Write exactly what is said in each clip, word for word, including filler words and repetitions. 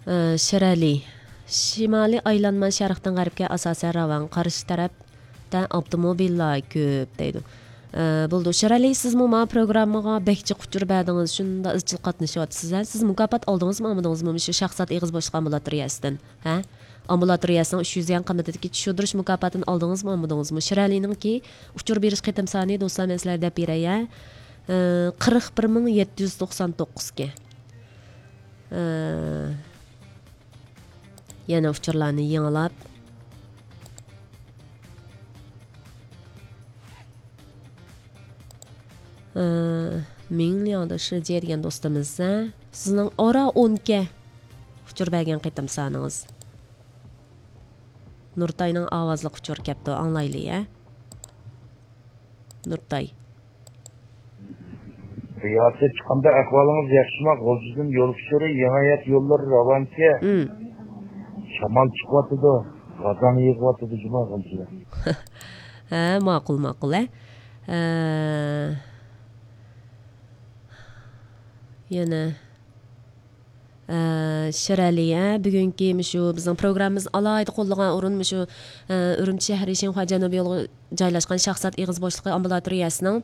ئى، شىرئەلى. شىمالىي ئايلانما شەرقتىن غەربكە ئاساسەن راۋان، قارشى تەرەپتە ئاپتوموبىللار كۆپ دەيدۇ. ئى، بولىدۇ. شىرئەلى، سىزمۇ ماۋۇ پروگراممىغا بەك جىق ئۇچۇر بەردىڭىز، شۇنداق ئىزچىل قاتنىشىۋاتىسىز، ھە؟ سىز مۇكاپات ئالدىڭىزمۇ، ئالمىدىڭىزمۇ مۇشۇ شاھزات ئېغىز بوشلۇق ئامبۇلاتورىيەسىدىن، ھە؟ ئامبۇلاتورىيەسىنىڭ ئۈچ يۈز يۈەن قىممىتىدىكى چۈشۈردۈرۈش مۇكاپاتىنى ئالدىڭىزمۇ، ئالمىدىڭىزمۇ؟ شىرئەلىنىڭكى ئۇچۇر بېرىش قېتىم سانى، دوستلار، مەن سىلەرگە دەپ بېرەي، ھە؟ ئى، قىرىق بىر مىڭ يەتتە يۈز توقسان توققۇز ئىكەن. ئى، يەنە ئۇچۇرلارنى يېڭىلاپ، ئى، مىڭلياڭدا شىجيې دېگەن دوستىمىز، ھە؟ سىزنىڭ ئارا ئون ئىككى ئۇچۇر بەرگەن قېتىم سانىڭىز. نۇرتاينىڭ ئاۋازلىق ئۇچۇرى كەپتۇ، ئاڭلايلى، ھە؟ نۇرتاي. رىياسەتچى، قانداق ئەھۋالىڭىز؟ ياخشىما؟ غۇلجىدىن يول ئۇچۇرى، يېڭى ھايات يوللىرى راۋانچە. ئىم. شامال چىقىۋاتىدۇ، غازاڭ يېغىۋاتىدۇ جۇما غۇلجىدا. ھە، ماقۇل، ماقۇل، ھە. ھە. يەنە، ھە، شىرئەلى، ھە، بۈگۈنكى مۇشۇ بىزنىڭ پروگراممىمىزنى ئالاھىدە قوللىغان ئورۇن مۇشۇ، ھە، ئۈرۈمچى شەھىرى شىنخۇا جەنۇبىي يولىغا جايلاشقان شاھزات ئېغىز بوشلۇقى ئامبۇلاتورىيەسىنىڭ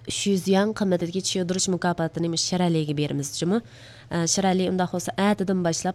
ئۈچ يۈز يۈەن قىممىتىدىكى چۈشۈردۈرۈش مۇكاپاتىنى مۇشۇ شىرئەلىگە بېرىمىز جۇمۇ. ئە، شىرئەلى، ئۇنداق بولسا ئەتىدىن باشلاپ